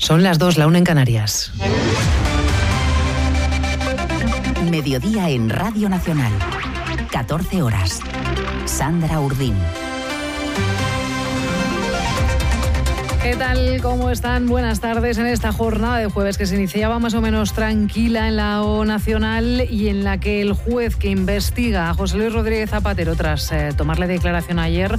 Son las 2, la 1 en Canarias. Mediodía en Radio Nacional. 14 horas. Sandra Urdín. ¿Qué tal? ¿Cómo están? Buenas tardes en esta jornada de jueves que se iniciaba más o menos tranquila en la O Nacional y en la que el juez que investiga a José Luis Rodríguez Zapatero tras tomarle declaración ayer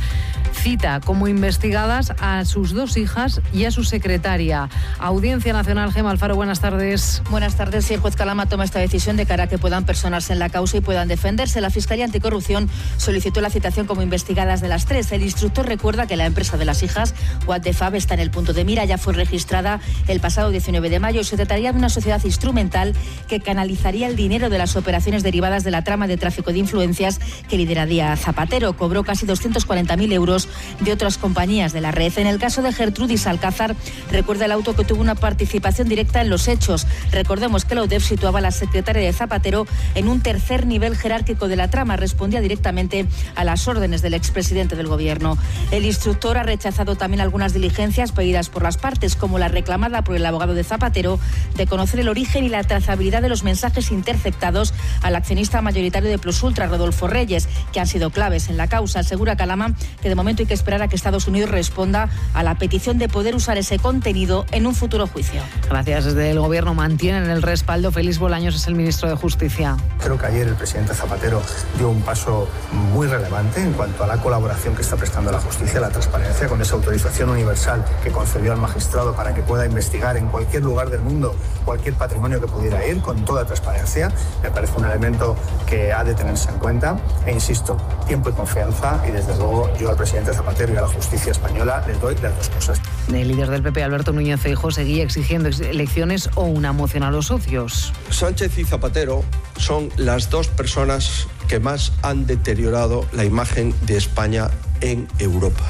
cita como investigadas a sus 2 hijas y a su secretaria. Audiencia Nacional, Gemma Alfaro, buenas tardes. Buenas tardes. Si el juez Calama toma esta decisión de cara a que puedan personarse en la causa y puedan defenderse, la Fiscalía Anticorrupción solicitó la citación como investigadas de las 3. El instructor recuerda que la empresa de las hijas, What the Fab, está en el punto de mira. Ya fue registrada el pasado 19 de mayo y se trataría de una sociedad instrumental que canalizaría el dinero de las operaciones derivadas de la trama de tráfico de influencias que lideraría Zapatero. Cobró casi 240.000 euros de otras compañías de la red. En el caso de Gertrudis Alcázar, recuerda el auto que tuvo una participación directa en los hechos. Recordemos que la UDEF situaba a la secretaria de Zapatero en un tercer nivel jerárquico de la trama. Respondía directamente a las órdenes del expresidente del gobierno. El instructor ha rechazado también algunas diligencias pedidas por las partes, como la reclamada por el abogado de Zapatero de conocer el origen y la trazabilidad de los mensajes interceptados al accionista mayoritario de Plus Ultra, Rodolfo Reyes, que han sido claves en la causa. Asegura Calama que de momento hay que esperar a que Estados Unidos responda a la petición de poder usar ese contenido en un futuro juicio. Gracias. Desde el Gobierno mantienen el respaldo. Félix Bolaños es el ministro de Justicia. Creo que ayer el presidente Zapatero dio un paso muy relevante en cuanto a la colaboración que está prestando la justicia, la transparencia, con esa autorización universal que concedió al magistrado para que pueda investigar en cualquier lugar del mundo cualquier patrimonio que pudiera ir, con toda transparencia. Me parece un elemento que ha de tenerse en cuenta. E insisto, tiempo y confianza, y desde luego yo al presidente Zapatero y a la justicia española les doy las 2 cosas. El líder del PP, Alberto Núñez Feijóo, seguía exigiendo elecciones o una moción a los socios. Sánchez y Zapatero son las 2 personas que más han deteriorado la imagen de España en Europa.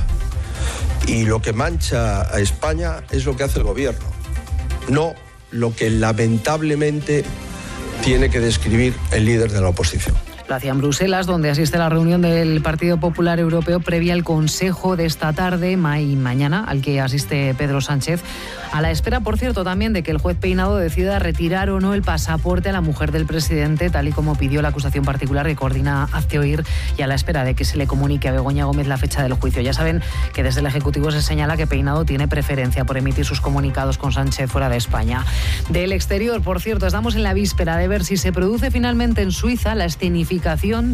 Y lo que mancha a España es lo que hace el gobierno, no lo que lamentablemente tiene que describir el líder de la oposición. Lo hacía en Bruselas, donde asiste a la reunión del Partido Popular Europeo previa al Consejo de esta tarde y mañana, al que asiste Pedro Sánchez, a la espera, por cierto, también de que el juez Peinado decida retirar o no el pasaporte a la mujer del presidente, tal y como pidió la acusación particular que coordina Hazte Oír, y a la espera de que se le comunique a Begoña Gómez la fecha del juicio. Ya saben que desde el Ejecutivo se señala que Peinado tiene preferencia por emitir sus comunicados con Sánchez fuera de España. Del exterior, por cierto, estamos en la víspera de ver si se produce finalmente en Suiza la escenificación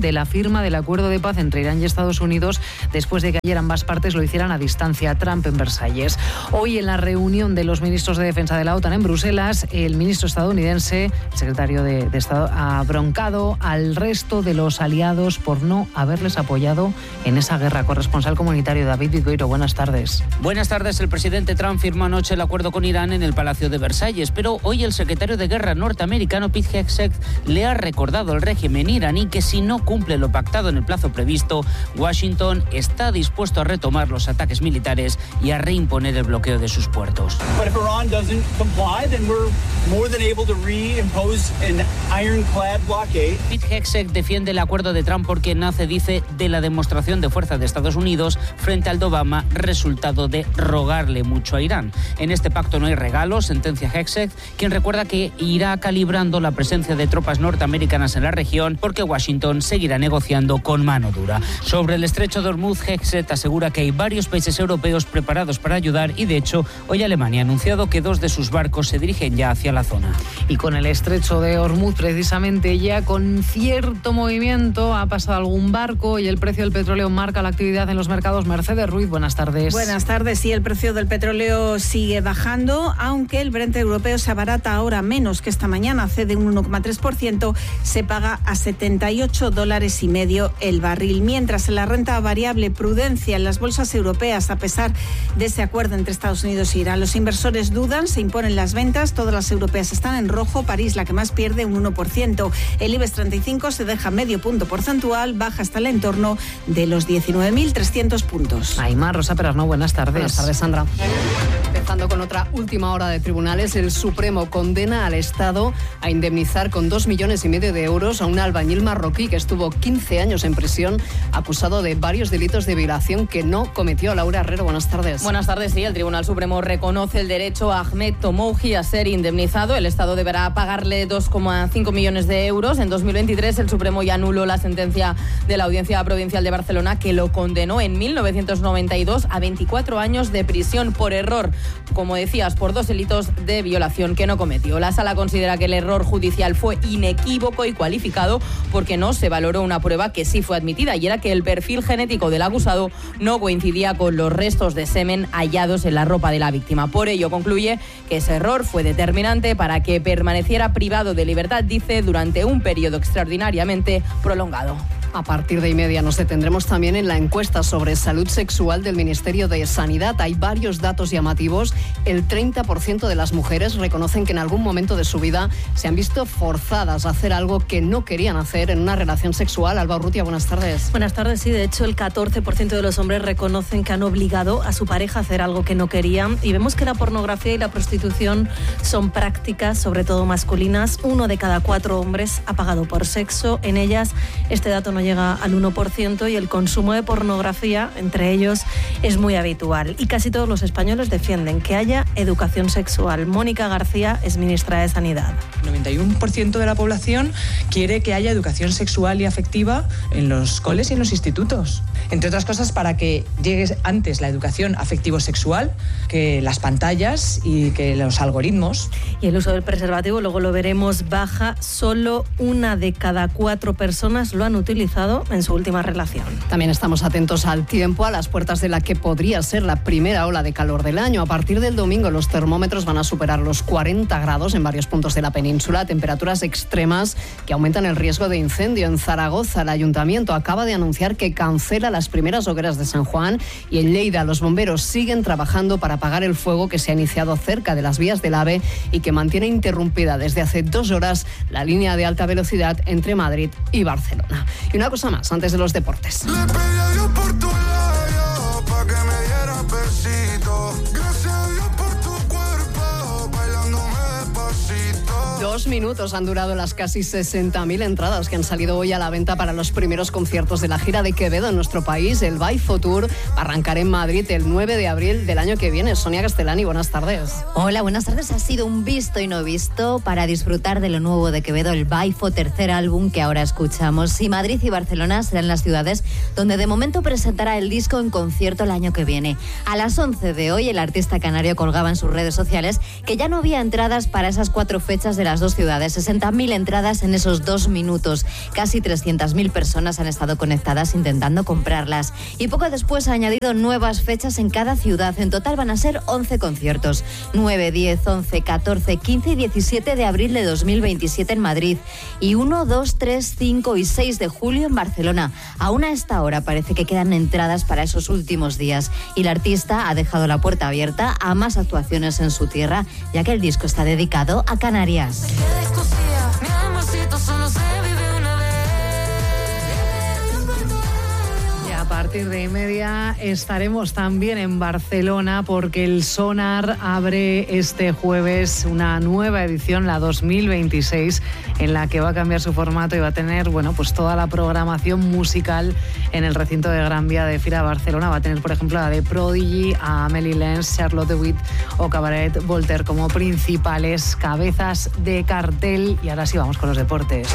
de la firma del acuerdo de paz entre Irán y Estados Unidos, después de que ayer ambas partes lo hicieran a distancia. Trump en Versalles. Hoy, en la reunión de los ministros de defensa de la OTAN en Bruselas, el ministro estadounidense, el secretario de Estado, ha broncado al resto de los aliados por no haberles apoyado en esa guerra. Corresponsal comunitario David Vigoiro, buenas tardes. Buenas tardes. El presidente Trump firmó anoche el acuerdo con Irán en el Palacio de Versalles, pero hoy el secretario de Guerra norteamericano Pete Hegseth le ha recordado al régimen iraní que si no cumple lo pactado en el plazo previsto, Washington está dispuesto a retomar los ataques militares y a reimponer el bloqueo de sus puertos. But if Iran doesn't comply, then we're more than able to reimpose an ironclad blockade. Pete Hegseth defiende el acuerdo de Trump porque nace, dice, de la demostración de fuerza de Estados Unidos frente al de Obama, resultado de rogarle mucho a Irán. En este pacto no hay regalos, sentencia Hegseth, quien recuerda que irá calibrando la presencia de tropas norteamericanas en la región porque Washington seguirá negociando con mano dura. Sobre el estrecho de Hormuz, Hegseth asegura que hay varios países europeos preparados para ayudar y, de hecho, hoy Alemania ha anunciado que 2 de sus barcos se dirigen ya hacia la zona. Y con el estrecho de Hormuz, precisamente ya con cierto movimiento, ha pasado algún barco y el precio del petróleo marca la actividad en los mercados. Mercedes Ruiz, buenas tardes. Buenas tardes. Sí, el precio del petróleo sigue bajando, aunque el Brent europeo se abarata ahora menos que esta mañana, cede un 1,3%, se paga a $78,50 el barril. Mientras en la renta variable, prudencia en las bolsas europeas a pesar de ese acuerdo entre Estados Unidos e Irán. Los inversores dudan, se imponen las ventas, todas las europeas están en rojo, París la que más pierde, un 1%. El IBEX 35 se deja medio punto porcentual, baja hasta el entorno de los 19.300 puntos. Aimar, Rosa Perarnau, buenas tardes. Buenas tardes, Sandra. Empezando con otra última hora de tribunales, el Supremo condena al Estado a indemnizar con 2,5 millones de euros a un albañil marroquí que estuvo 15 años en prisión acusado de varios delitos de violación que no cometió. Laura Herrero, buenas tardes. Buenas tardes, sí. El Tribunal Supremo reconoce el derecho a Ahmed Tomouji a ser indemnizado. El Estado deberá pagarle 2,5 millones de euros. En 2023 el Supremo ya anuló la sentencia de la Audiencia Provincial de Barcelona que lo condenó en 1992 a 24 años de prisión por error, como decías, por 2 delitos de violación que no cometió. La Sala considera que el error judicial fue inequívoco y cualificado porque no se valoró una prueba que sí fue admitida, y era que el perfil genético del acusado no coincidía con los restos de semen hallados en la ropa de la víctima. Por ello, concluye que ese error fue determinante para que permaneciera privado de libertad, dice, durante un periodo extraordinariamente prolongado. A partir de 1:30 nos detendremos también en la encuesta sobre salud sexual del Ministerio de Sanidad. Hay varios datos llamativos. El 30% de las mujeres reconocen que en algún momento de su vida se han visto forzadas a hacer algo que no querían hacer en una relación sexual. Alba Urrutia, buenas tardes. Buenas tardes, sí. De hecho, el 14% de los hombres reconocen que han obligado a su pareja a hacer algo que no querían. Y vemos que la pornografía y la prostitución son prácticas, sobre todo masculinas. 1 de cada 4 hombres ha pagado por sexo. En ellas, este dato no llega al 1%, y el consumo de pornografía entre ellos es muy habitual. Y casi todos los españoles defienden que haya educación sexual. Mónica García es ministra de Sanidad. El 91% de la población quiere que haya educación sexual y afectiva en los coles y en los institutos. Entre otras cosas, para que llegue antes la educación afectivo-sexual que las pantallas y que los algoritmos. Y el uso del preservativo, luego lo veremos, baja. Solo 1 de cada 4 personas lo han utilizado en su última relación. También estamos atentos al tiempo, a las puertas de la que podría ser la primera ola de calor del año. A partir del domingo los termómetros van a superar los 40 grados en varios puntos de la península, temperaturas extremas que aumentan el riesgo de incendio. En Zaragoza, el ayuntamiento acaba de anunciar que cancela las primeras hogueras de San Juan, y en Lleida los bomberos siguen trabajando para apagar el fuego que se ha iniciado cerca de las vías del AVE y que mantiene interrumpida desde hace 2 horas la línea de alta velocidad entre Madrid y Barcelona. Y una cosa más, antes de los deportes. Le pedí a Dios por tu labio, pa' que me diera besito. Gracias a Dios por tu cuerpo, bailándome despacito. 2 minutos han durado las casi 60.000 entradas que han salido hoy a la venta para los primeros conciertos de la gira de Quevedo en nuestro país. El Baifo Tour va a arrancar en Madrid el 9 de abril del año que viene. Sonia Castellani, buenas tardes. Hola, buenas tardes. Ha sido un visto y no visto para disfrutar de lo nuevo de Quevedo, el Baifo, tercer álbum que ahora escuchamos. Y Madrid y Barcelona serán las ciudades donde de momento presentará el disco en concierto el año que viene. A las 11 de hoy, el artista canario colgaba en sus redes sociales que ya no había entradas para esas 4 fechas de las 2 ciudades. 60.000 entradas en esos 2 minutos. Casi 300.000 personas han estado conectadas intentando comprarlas. Y poco después ha añadido nuevas fechas en cada ciudad. En total van a ser 11 conciertos. 9, 10, 11, 14, 15 y 17 de abril de 2027 en Madrid. Y 1, 2, 3, 5 y 6 de julio en Barcelona. Aún a esta hora parece que quedan entradas para esos últimos días. Y el artista ha dejado la puerta abierta a más actuaciones en su tierra, ya que el disco está dedicado a Canarias. A partir de 1:30 estaremos también en Barcelona, porque el Sonar abre este jueves una nueva edición, la 2026, en la que va a cambiar su formato y va a tener, pues toda la programación musical en el recinto de Gran Vía de Fira Barcelona. Va a tener, por ejemplo, a The Prodigy, a Amelie Lenz, Charlotte de Witt o Cabaret Voltaire como principales cabezas de cartel. Y ahora sí, vamos con los deportes.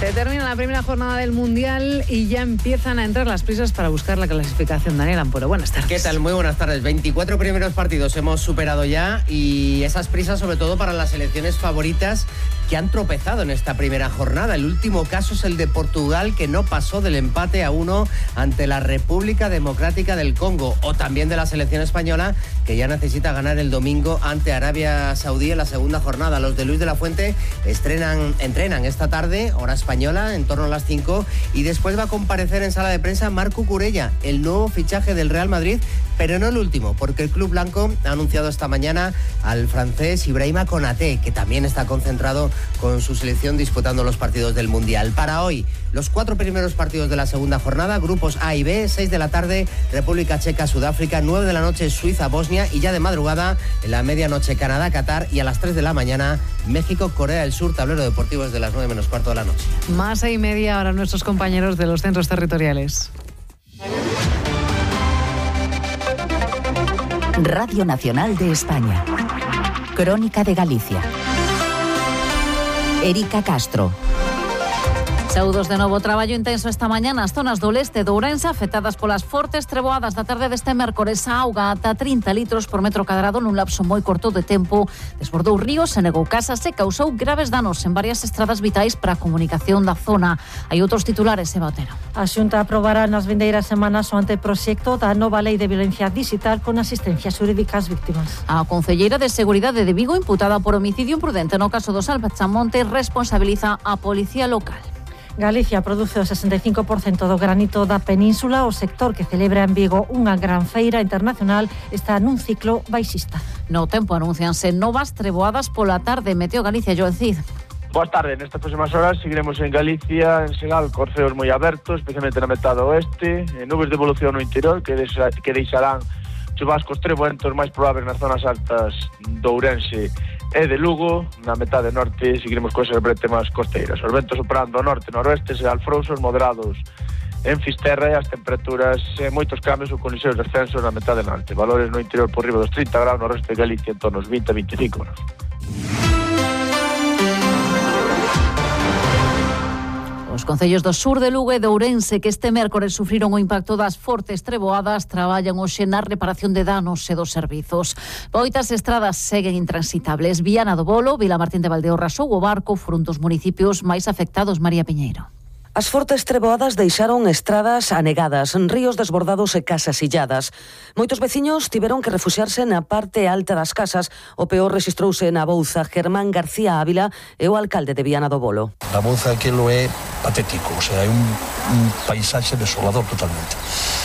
Se termina la primera jornada del Mundial y ya empiezan a entrar las prisas para buscar la clasificación. Daniel Ampuero, buenas tardes. ¿Qué tal? Muy buenas tardes. 24 primeros partidos hemos superado ya, y esas prisas sobre todo para las selecciones favoritas que han tropezado en esta primera jornada. El último caso es el de Portugal, que no pasó del empate a 1 ante la República Democrática del Congo, o también de la selección española, que ya necesita ganar el domingo ante Arabia Saudí en la segunda jornada. Los de Luis de la Fuente entrenan esta tarde, hora española, en torno a las 5, y después va a comparecer en sala de prensa Marco Curella, el nuevo fichaje del Real Madrid, pero no el último, porque el club blanco ha anunciado esta mañana al francés Ibrahima Konaté, que también está concentrado con su selección disputando los partidos del Mundial. Para hoy, los 4 primeros partidos de la segunda jornada, grupos A y B, 6 de la tarde, República Checa, Sudáfrica, 9 de la noche, Suiza, Bosnia, y ya de madrugada, en la medianoche, Canadá, Qatar, y a las 3 de la mañana, México, Corea del Sur. Tablero deportivo desde las 9 menos cuarto de la noche. Más 6:30 ahora nuestros compañeros de los centros territoriales. Radio Nacional de España. Crónica de Galicia. Erika Castro. Saúdos de novo. Traballo intenso esta mañá nas zonas do leste de Ourense afectadas polas fortes treboadas da tarde deste mércores. A auga ata 30 litros por metro cadrado nun lapso moi corto de tempo desbordou ríos, se negou casas e causou graves danos en varias estradas vitais para a comunicación da zona. Hai outros titulares, Eva Otero. A Xunta aprobará nas vindeiras semanas o anteproxecto da nova Lei de Violencia Digital con asistencia xurídica ás víctimas. A concelleira de Seguridade de Vigo, imputada por homicidio imprudente no caso do Salvachamonte, responsabiliza a policía local. Galicia produce o 65% do granito da península. O sector que celebra en Vigo unha gran feira internacional está nun ciclo baixista. No tempo anuncianse novas treboadas pola tarde. Meteo Galicia, Joel Cid. Boas tardes, nestas próximas horas seguiremos en Galicia, en Segal, corceos moi abertos, especialmente na metade oeste, nubes de evolución no interior que deixarán chubascos treboentos máis probables nas zonas altas do Ourense e de Lugo. Na metade norte seguiremos cousas brete máis costeiras. Os ventos operando ao norte e noroeste serán frouxos moderados en Fisterra e as temperaturas moitos cambios ou con lixeiros descensos na metade norte. Valores no interior por riba dos 30 graus, no resto de Galicia en torno aos 20 a 25 graus. Os concellos do sur de Lugo e de Ourense que este mércores sufriron o impacto das fortes treboadas traballan hoxe na reparación de danos e dos servizos. Moitas estradas seguen intransitables. Viana do Bolo, Vilamartín de Valdeorras ou O Barco foron dos municipios máis afectados. María Piñeiro. As fortes treboadas deixaron estradas anegadas, ríos desbordados e casas illadas. Moitos veciños tiveron que refuxiarse na parte alta das casas. O peor rexistrouse na Bouza. Germán García Ávila é o alcalde de Viana do Bolo. Na Bouza aquilo é patético, o sea, é un paisaxe desolador totalmente.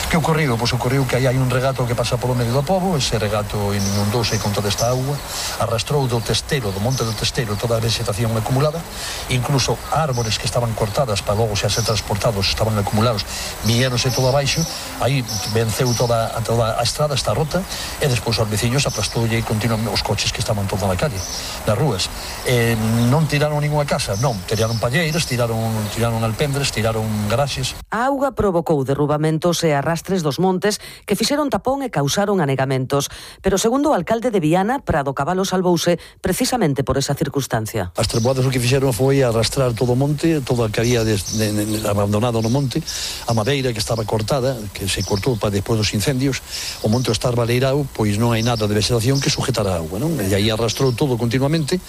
Que ocorriu? Pois ocorriu que aí hai un regato que pasa polo medio do pobo, ese regato inundouse con toda esta auga, arrastrou do testero, do monte do testero, toda a vegetación acumulada, incluso árboles que estaban cortadas para logo xa ser transportados, estaban acumulados, viéronse todo abaixo, aí venceu toda a estrada, está rota, e despois os veciños aplastoulle continuamente os coches que estaban toda na calle, nas rúas. Non tiraron ninguna casa, non, tiraron palleiras, tiraron alpendres, tiraron garaxes. A auga provocou derrubamentos e arrastres dos montes que fixeron tapón e causaron anegamentos, pero segundo o alcalde de Viana, Prado Cabalo salvouse precisamente por esa circunstancia. As treboadas o que fixeron foi arrastrar todo o monte, todo o que había abandonado no monte, a madeira que estaba cortada, que se cortou para despois dos incendios, o monte estar baleirado, pois non hai nada de vegetación que sujetar a auga, non? E aí arrastrou todo continuamente,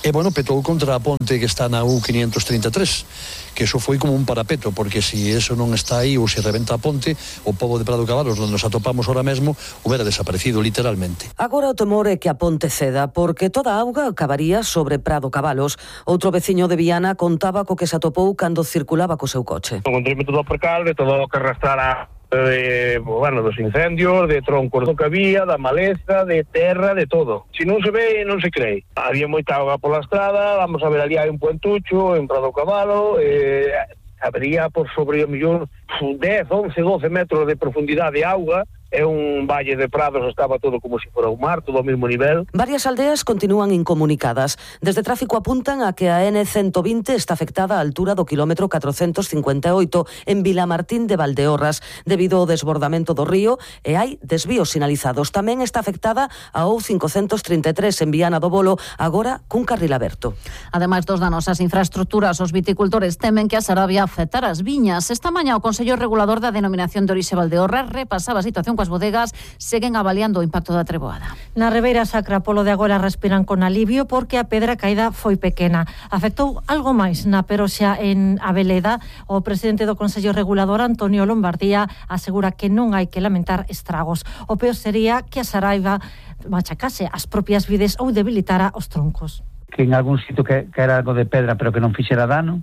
e, bueno, petou contra a ponte que está na U533, que eso foi como un parapeto, porque se eso non está aí ou se reventa a ponte, o pobo de Prado Cabalos, onde nos atopamos ahora mesmo, hubiera desaparecido literalmente. Agora o temor é que a ponte ceda, porque toda a auga acabaría sobre Prado Cabalos. Outro veciño de Viana contaba co que se atopou cando circulaba co seu coche. Encontrei todo o percal de todo o que arrastrara dos incendios, de troncos do que había, da maleza, de terra, de todo. Se non se ve, non se cree. Había moita auga pola estrada, vamos a ver ali hai un puentucho en Prado Cabalo, habría por sobre o millón 10, 11, 12 metros de profundidade de auga. É un valle de prados, estaba todo como se fora un mar, todo ao mesmo nivel. Varias aldeas continúan incomunicadas. Desde tráfico apuntan a que a N120 está afectada á altura do kilómetro 458 en Vilamartín de Valdeorras debido ao desbordamento do río e hai desvíos sinalizados. Tamén está afectada a O533 en Viana do Bolo, agora cun carril aberto. Ademais dos danos ás infraestructuras, os viticultores temen que a Sarabia afectar as viñas. Esta mañá o Consello Regulador da Denominación de Orixe Valdeorras repasaba a situación coas bodegas, seguen avaliando o impacto da treboada. Na Ribeira Sacra, polo de agora respiran con alivio porque a pedra caída foi pequena. Afectou algo máis na Peroxa en Abeleda. O presidente do Consello Regulador, Antonio Lombardía, asegura que non hai que lamentar estragos. O peor sería que a Saraiva machacase as propias vides ou debilitara os troncos. Que en algún sitio que era algo de pedra pero que non fixera dano,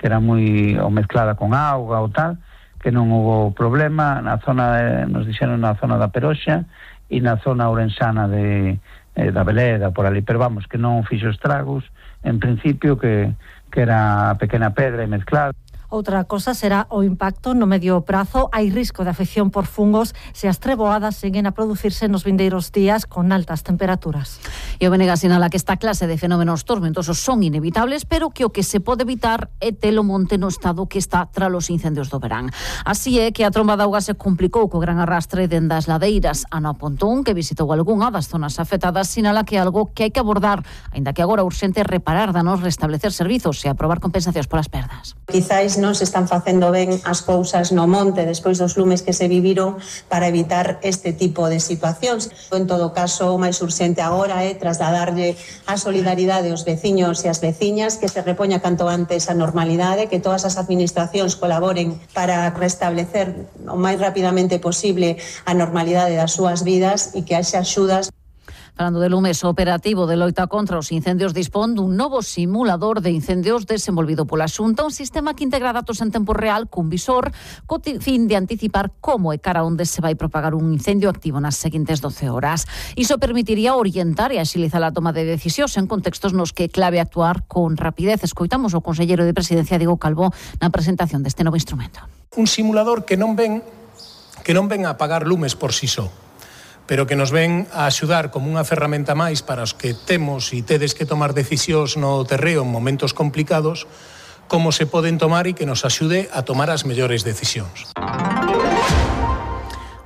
que era moi ou mezclada con auga ou tal, que non houve problema na zona, nos dixeron na zona da Peroxa e na zona ourensana da Beleda, por ali, pero vamos, que non fixo estragos, en principio que era pequena pedra e mezclada. Outra cosa será o impacto no medio prazo. Hai risco de afección por fungos se as treboadas seguen a producirse nos vindeiros días con altas temperaturas. E o BNG sinala que esta clase de fenómenos tormentosos son inevitables, pero que o que se pode evitar é telo monte no estado que está tras os incendios do verán. Así é que a tromba de auga se complicou co gran arrastre dende as ladeiras. Ana Pontón, que visitou algunha das zonas afectadas, sinala que é algo que hai que abordar, aínda que agora urxente reparar danos, restablecer servizos e aprobar compensacións polas perdas. Quizáis non se están facendo ben as cousas no monte despois dos lumes que se viviron para evitar este tipo de situacións. En todo caso, o máis urxente agora é trasladarlle a solidaridade aos veciños e as veciñas, que se repoña canto antes a normalidade, que todas as administracións colaboren para restablecer o máis rapidamente posible a normalidade das súas vidas e que haxa axudas. Falando de lumes, o operativo de loita contra os incendios dispón dun novo simulador de incendios desenvolvido pola Xunta, un sistema que integra datos en tempo real cun visor co fin de anticipar como e cara onde se vai propagar un incendio activo nas seguintes 12 horas. Iso permitiría orientar e axilizar a toma de decisións en contextos nos que é clave actuar con rapidez. Escoitamos o conselleiro de Presidencia, Diego Calvo, na presentación deste novo instrumento. Un simulador que non ven a apagar lumes por si só, pero que nos ven a axudar como unha ferramenta máis para os que temos e tedes que tomar decisións no terreo en momentos complicados, como se poden tomar e que nos axude a tomar as mellores decisións.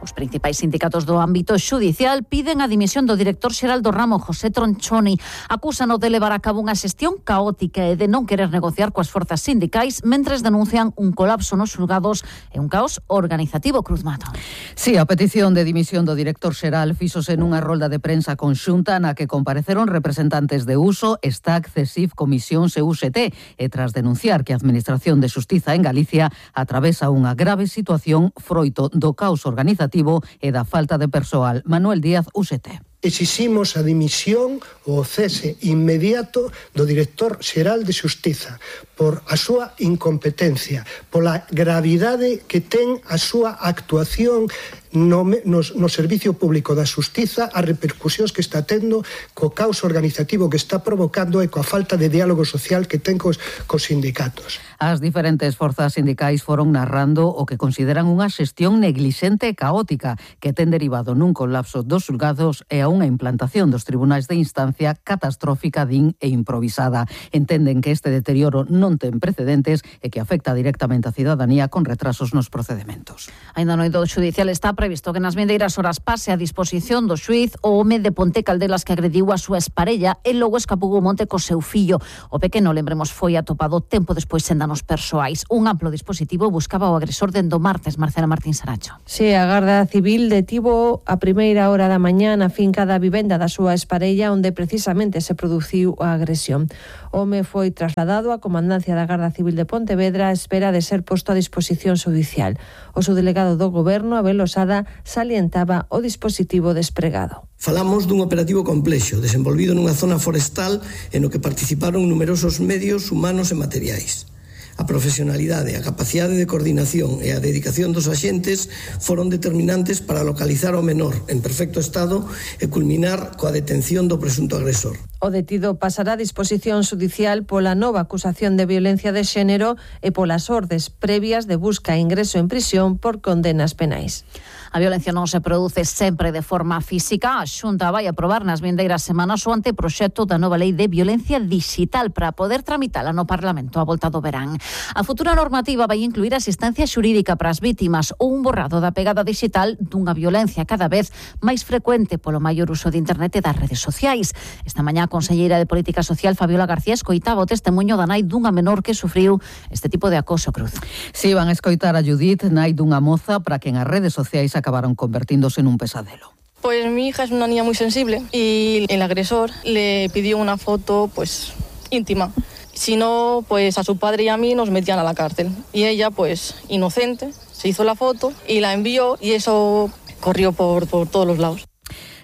Os principais sindicatos do ámbito xudicial piden a dimisión do director xeral do ramo, José Tronchoni. Acúsano de levar a cabo unha xestión caótica e de non querer negociar coas forzas sindicais, mentres denuncian un colapso nos xulgados e un caos organizativo. Cruz Mato. Sí, a petición de dimisión do director xeral fíxose nunha rolda de prensa conxunta na que compareceron representantes de Uso, STAC, CESIF, Comisións e UGT, e tras denunciar que a Administración de Xustiza en Galicia atravesa unha grave situación froito do caos organizativo e da falta de persoal. Manuel Díaz, UGT. Exiximos a dimisión ou o cese inmediato do director xeral de Xustiza por a súa incompetencia, pola gravidade que ten a súa actuación no servicio público da Xustiza, as repercusións que está tendo, co caos organizativo que está provocando e coa falta de diálogo social que ten cos sindicatos. As diferentes forzas sindicais foron narrando o que consideran unha xestión neglixente e caótica que ten derivado nun colapso dos xulgados e a unha implantación dos tribunais de instancia catastrófica, din, e improvisada. Entenden que este deterioro non ten precedentes e que afecta directamente a cidadanía con retrasos nos procedementos. Ainda no eido judicial está previsto que nas vindeiras horas pase a disposición do xuíz o home de Ponte Caldelas que agrediu a súa esparella e logo escapou ao monte co seu fillo. O pequeno, lembremos, foi atopado tempo despois en danos persoais. Un amplo dispositivo buscaba o agresor dende o martes. Marcela Martín Saracho. Sí, a Garda Civil detivo a primeira hora da mañá na finca da vivenda da súa esparella onde precisamente se produciu a agresión. O home foi trasladado á comandancia da Garda Civil de Pontevedra a espera de ser posto a disposición judicial. O subdelegado do Goberno, Abel Osada, salientaba o dispositivo despregado. Falamos dun operativo complexo, desenvolvido nunha zona forestal en no que participaron numerosos medios humanos e materiais. A profesionalidade, a capacidade de coordinación e a dedicación dos axentes foron determinantes para localizar ao menor en perfecto estado e culminar coa detención do presunto agresor. O detido pasará a disposición judicial pola nova acusación de violencia de xénero e polas ordes previas de busca e ingreso en prisión por condenas penais. A violencia non se produce sempre de forma física. A Xunta vai aprobar nas vindeiras semanas o anteproxecto da nova lei de violencia digital para poder tramitala no Parlamento a volta do verán. A futura normativa vai incluir asistencia xurídica para as vítimas ou un borrado da pegada digital dunha violencia cada vez máis frecuente polo maior uso de internet e das redes sociais. Esta mañá a conselleira de Política Social, Fabiola García, escoitaba o testemuño da nai dunha menor que sufriu este tipo de acoso. Cruz. Si, van a escoitar a Judith, nai dunha moza para que en as redes sociais acabaron convertíndose en un pesadelo. Pues mi hija es una niña muy sensible y el agresor le pidió una foto pues íntima. Si no, pues a su padre y a mí nos metían a la cárcel. Y ella, pues inocente, se hizo la foto y la envió y eso corrió por todos los lados.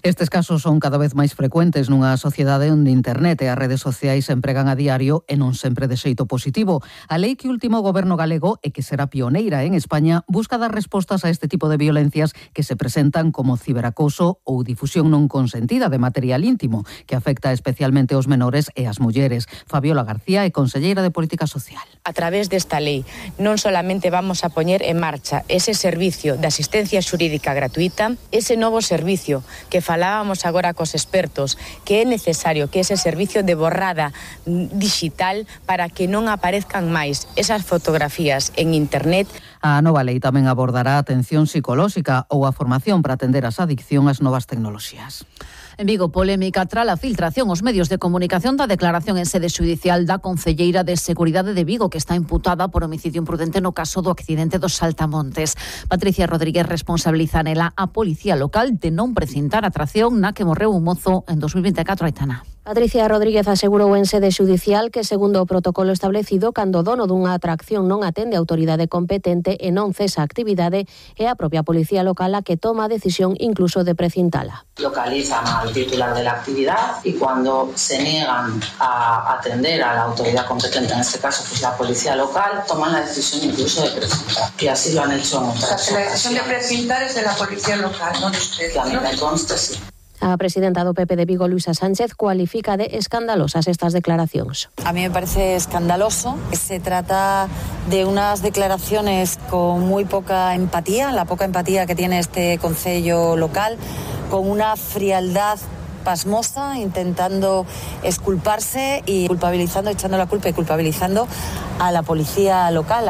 Estes casos son cada vez máis frecuentes nunha sociedade onde internet e as redes sociais se empregan a diario e non sempre de xeito positivo. A lei que o último goberno galego e que será pioneira en España busca dar respostas a este tipo de violencias que se presentan como ciberacoso ou difusión non consentida de material íntimo, que afecta especialmente aos menores e as mulleres. Fabiola García é conselleira de Política Social. A través desta lei non solamente vamos a poñer en marcha ese servicio de asistencia xurídica gratuita, ese novo servicio que falábamos agora cos expertos, que é necesario que ese servicio de borrada digital para que non aparezcan máis esas fotografías en internet. A nova lei tamén abordará a atención psicolóxica ou a formación para atender as adicción ás novas tecnoloxías. En Vigo, polémica tras a filtración aos medios de comunicación da declaración en sede xudicial da concelleira de Seguridade de Vigo, que está imputada por homicidio imprudente no caso do accidente dos Saltamontes. Patricia Rodríguez responsabiliza nela a policía local de non precintar a atracción na que morreu un mozo en 2024, Aitana. Patricia Rodríguez asegurou en sede xudicial que, segundo o protocolo establecido, cando o dono dunha atracción non atende a autoridade competente e non cesa a actividade, é a propia policía local a que toma a decisión incluso de precintala. Localizan al titular de la actividad y cuando se niegan a atender a la autoridad competente, en este caso pues la policía local, toman la decisión incluso de precintar. Y así lo han hecho en otras ocasiones. La decisión de precintar es de la policía local, no de ustedes. Que a mí me consta, sí. A presidenta do PP de Vigo, Luisa Sánchez, cualifica de escandalosas estas declaracións. A mí me parece escandaloso. Se trata de unas declaraciones con muy poca empatía, la poca empatía que tiene este concello local, con una frialdad pasmosa, intentando exculparse y culpabilizando, echando la culpa y culpabilizando a la policía local.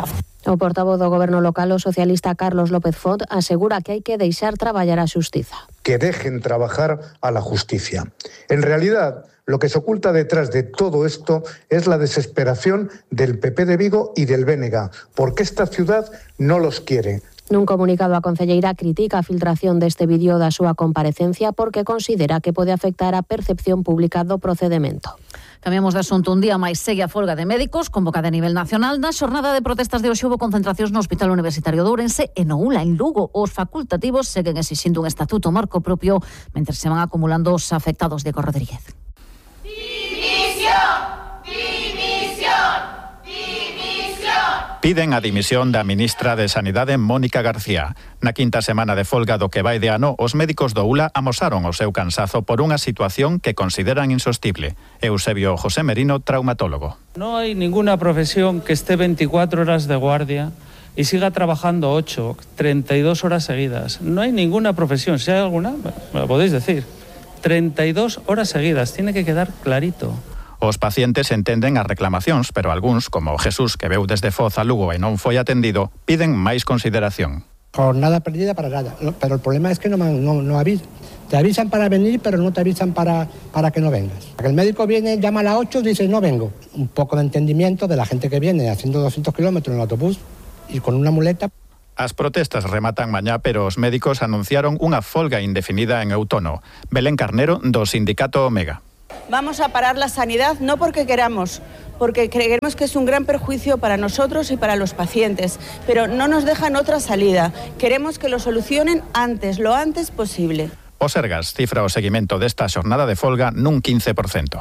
O portavoz do goberno local, o socialista Carlos López Font, asegura que hai que deixar traballar a xustiza. Que dejen trabajar a la justicia. En realidad, lo que se oculta detrás de todo esto es la desesperación del PP de Vigo y del BNG, porque esta ciudad no los quiere. Nun comunicado, a concelleira critica a filtración deste vídeo da súa comparecencia porque considera que pode afectar a percepción pública do procedemento. Cambiamos de asunto. Un día máis segue a folga de médicos convocada a nivel nacional. Na xornada de protestas de hoxe houbo concentracións no Hospital Universitario de Ourense e no ULA en Lugo. Os facultativos seguen exixindo un estatuto marco propio mentre se van acumulando os afectados. Diego Rodríguez. Dimisión! Piden a dimisión da ministra de Sanidade, Mónica García. Na quinta semana de folga do que vai de ano, os médicos do ULA amosaron o seu cansazo por unha situación que consideran insostible. Eusebio José Merino, traumatólogo. No hay ninguna profesión que esté 24 horas de guardia y siga trabajando 8, 32 horas seguidas. No hay ninguna profesión. Si hay alguna, me lo podéis decir. 32 horas seguidas. Tiene que quedar clarito. Os pacientes entenden as reclamacións, pero algúns, como Jesús, que veu desde Foz a Lugo e non foi atendido, piden máis consideración. Jornada perdida para nada, pero el problema es que no avisan. Te avisan para venir, pero no te avisan para que no vengas. El médico viene, llama a las 8 y dice no vengo. Un poco de entendimiento de la gente que viene haciendo 200 kilómetros en el autobús y con una muleta. As protestas rematan mañá, pero os médicos anunciaron unha folga indefinida en outono. Belén Carnero, do sindicato Omega. Vamos a parar la sanidad no porque queramos, porque creemos que es un gran perjuicio para nosotros y para los pacientes, pero no nos dejan otra salida. Queremos que lo solucionen antes, lo antes posible. O Sergas cifra o seguimento desta xornada de folga nun 15%.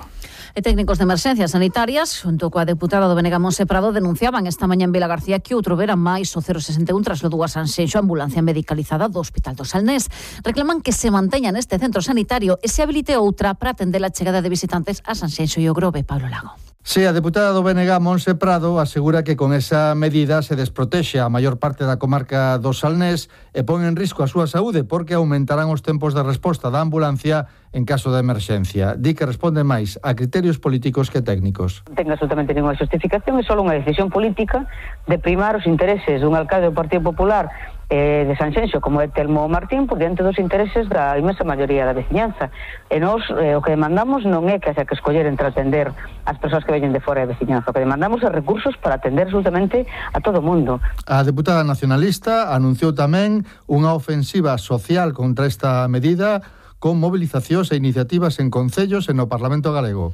E técnicos de emerxencias sanitarias, xunto coa deputada do BNG Monse Prado, denunciaban esta mañá en Vila García que outro vera máis o 061 trasladou a Sanxenxo a ambulancia medicalizada do Hospital do Salnés. Reclaman que se manteña neste centro sanitario e se habilite outra para atender a chegada de visitantes a Sanxenxo e o Grove. Pablo Lago. Sí, a deputada do BNG Monse Prado asegura que con esa medida se desprotexe a maior parte da comarca do Salnés e pon en risco a súa saúde porque aumentarán os tempos de resposta da ambulancia en caso de emerxencia. Di que responde máis a criterios políticos que técnicos. Non ten absolutamente ninguna justificación, é só unha decisión política de primar os intereses dun alcalde do Partido Popular de Sanxenxo, como é Telmo Martín, por diante dos intereses da inmensa maioría da veciñanza. E nós o que demandamos non é que haxa que escoller entre atender as persoas que veñen de fora da veciñanza. O que demandamos é recursos para atender absolutamente a todo o mundo. A deputada nacionalista anunciou tamén unha ofensiva social contra esta medida con movilizacións e iniciativas en concellos e no Parlamento galego.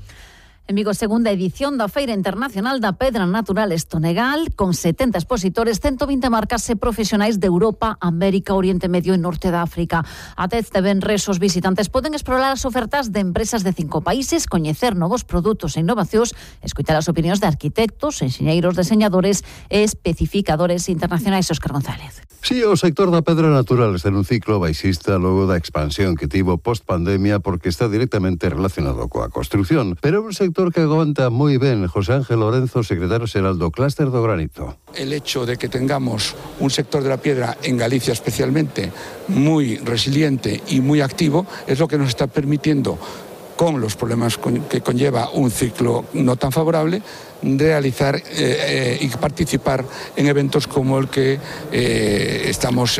En Vigo, segunda edición da Feira Internacional da Pedra Natural Estonegal, con 70 expositores, 120 marcas e profesionais de Europa, América, Oriente Medio e Norte da África. Ata este venres, os visitantes poden explorar as ofertas de empresas de 5 países, coñecer novos produtos e innovacións, escoitar as opinións de arquitectos, enxeñeiros, deseñadores e especificadores internacionais. Óscar González. Sí, o sector da pedra natural está nun ciclo baixista logo da expansión que tivo post-pandemia porque está directamente relacionado coa construción, pero un sector que aguanta moi ben. José Ángel Lorenzo, secretario xeral do Clúster do Granito. El hecho de que tengamos un sector de la piedra en Galicia especialmente muy resiliente y muy activo es lo que nos está permitiendo, con los problemas que conlleva un ciclo no tan favorable, realizar y participar en eventos como el que estamos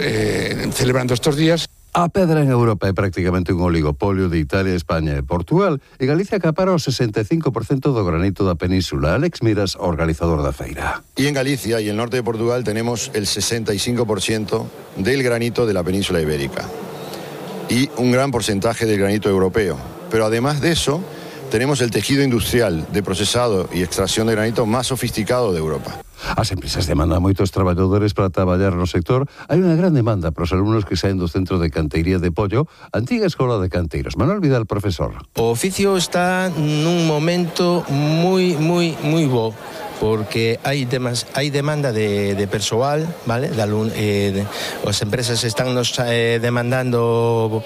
celebrando estos días. A pedra en Europa é prácticamente un oligopolio de Italia, España e Portugal, e Galicia acapara o 65% do granito da península. Alex Miras, organizador da feira. Y en Galicia y el norte de Portugal tenemos el 65% del granito de la península ibérica y un gran porcentaje del granito europeo. Pero además de eso, tenemos el tejido industrial de procesado y extracción de granito más sofisticado de Europa. As empresas demandan moitos traballadores para traballar no sector. Hai unha gran demanda para os alumnos que saen do Centro de Canteiría de Pollo, antiga Escola de Canteiros. Manuel Vidal, profesor. O oficio está nun momento moi bo, porque hai demanda de persoal, vale? As empresas están nos demandando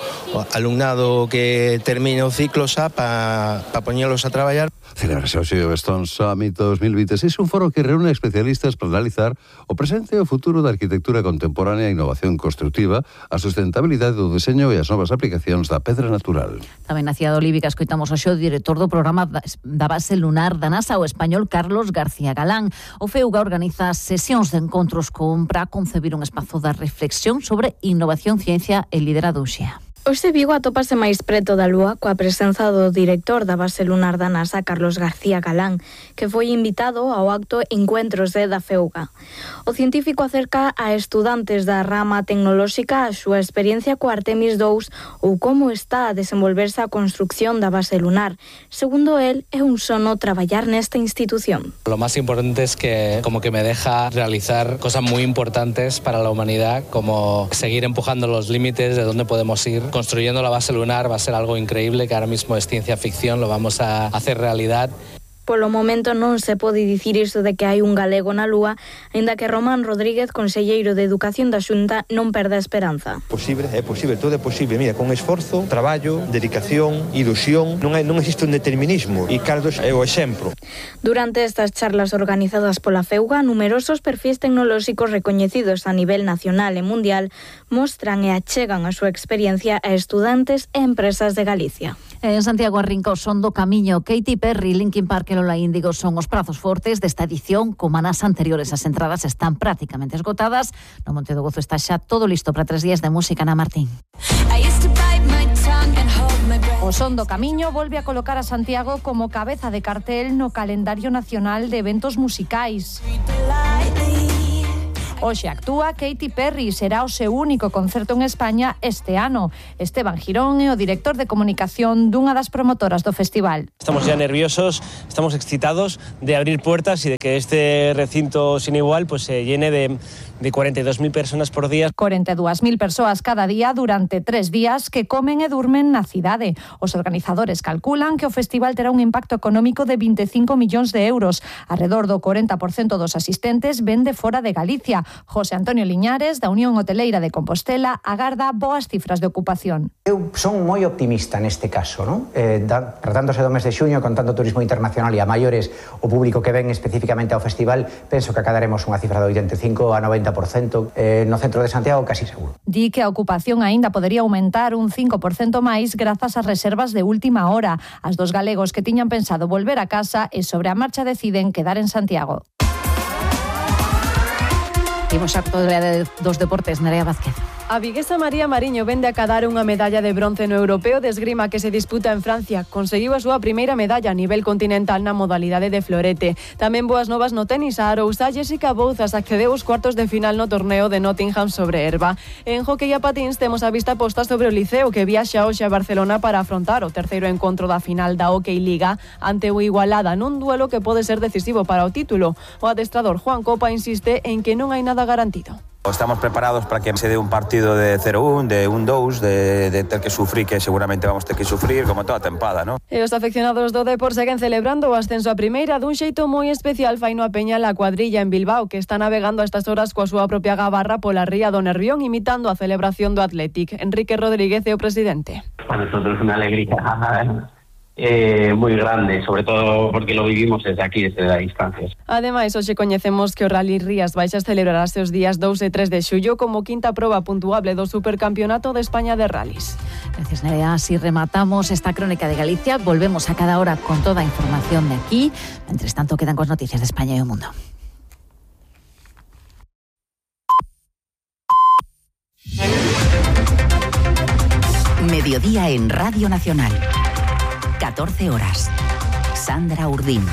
alumnado que termine o ciclo xa para poñelos a traballar. Celebrase o Silverstone Summit 2026, un foro que reúne especialistas para analizar o presente e o futuro da arquitectura contemporánea e innovación constructiva, a sustentabilidade do deseño e as novas aplicacións da pedra natural. Tamén na cidade olívica escoitamos ao director do programa da base lunar da NASA, o español Carlos García Galán. O FEUGA organiza sesións de encontros para concebir un espazo de reflexión sobre innovación, ciencia e liderado Uxía. Hoxe Vigo atópase máis preto da Lúa coa presenza do director da base lunar da NASA, Carlos García Galán, que foi invitado ao acto Encuentros da FEUGA. O científico acerca a estudantes da rama tecnolóxica a súa experiencia co Artemis 2 ou como está a desenvolverse a construcción da base lunar. Segundo él, é un sono traballar nesta institución. Lo más importante es que como que me deja realizar cosas muy importantes para la humanidad, como seguir empujando los límites de dónde podemos ir. Construyendo la base lunar va a ser algo increíble, que ahora mismo es ciencia ficción, lo vamos a hacer realidad. Polo momento non se pode dicir iso de que hai un galego na Lúa, aínda que Román Rodríguez, conselleiro de Educación da Xunta, non perde a esperanza. É posible, todo é posible. Mira, con esforzo, traballo, dedicación, ilusión, non existe un determinismo e Carlos é o exemplo. Durante estas charlas organizadas pola FEUGA, numerosos perfis tecnolóxicos recoñecidos a nivel nacional e mundial mostran e achegan a súa experiencia a estudantes e empresas de Galicia. En Santiago arrinca o son do camiño. Katy Perry, Linkin Park e Lola Índigo son os prazos fortes desta edición. Como nas anteriores, as entradas están prácticamente esgotadas. No Monte do Gozo está xa todo listo para 3 días de música na Martín. O son do camiño volve a colocar a Santiago como cabeza de cartel no calendario nacional de eventos musicais. Hoxe actúa Katy Perry, será o seu único concerto en España este ano. Esteban Girón é o director de comunicación dunha das promotoras do festival. Estamos ya nerviosos, estamos excitados de abrir puertas y de que este recinto sin igual pues se llene de 42.000 personas por día. 42.000 persoas cada día durante 3 días que comen e durmen na cidade. Os organizadores calculan que o festival terá un impacto económico de 25 millóns de euros. Arredor do 40% dos asistentes ven de fora de Galicia. José Antonio Liñares, da Unión Hoteleira de Compostela, agarda boas cifras de ocupación. Eu son moi optimista neste caso, non? Tratándose do mes de xuño, con tanto turismo internacional e a maiores o público que ven especificamente ao festival, penso que acadaremos unha cifra de 85 a 90%, no centro de Santiago casi seguro. Di que a ocupación aínda podería aumentar un 5% máis grazas ás reservas de última hora. As dos galegos que tiñan pensado volver a casa e sobre a marcha deciden quedar en Santiago. Imos a actualidade dos deportes, Nerea Vázquez. A viguesa María Mariño vende a cadar unha medalla de bronce no Europeo de Esgrima que se disputa en Francia. Conseguiu a súa primeira medalla a nivel continental na modalidade de florete. Tamén boas novas no tenis. A arousá Jessica Bouzas accedeu aos cuartos de final no torneo de Nottingham sobre herba. En hockey a patins temos a vista posta sobre o Liceo que viaxa hoxe a Barcelona para afrontar o terceiro encontro da final da Hockey Liga ante o Igualada nun duelo que pode ser decisivo para o título. O adestrador Juan Copa insiste en que non hai nada garantido. Estamos preparados para que se dé un partido de 0-1, de 1-2, de ter que sufrir, que seguramente vamos ter que sufrir, como toda a tempada, ¿no? E os afeccionados do Depor seguen celebrando o ascenso a primeira dun xeito moi especial. Faino a Peña la cuadrilla en Bilbao, que está navegando a estas horas coa súa propia gabarra pola ría do Nervión, imitando a celebración do Athletic. Enrique Rodríguez é o presidente. Para nosotros una alegría muy grande, sobre todo porque lo vivimos desde aquí, desde la distancia. Ademais, hoxe coñecemos que o Rally Rías Baixas celebrarase os días 2 e 3 de xullo como quinta proba puntuable do Supercampeonato de España de Rallys. Gracias, Nerea. Así rematamos esta crónica de Galicia. Volvemos a cada hora con toda a información de aquí. Mientras tanto, quedan con noticias de España y o mundo. Mediodía en Radio Nacional. 14 horas. Sandra Urdín.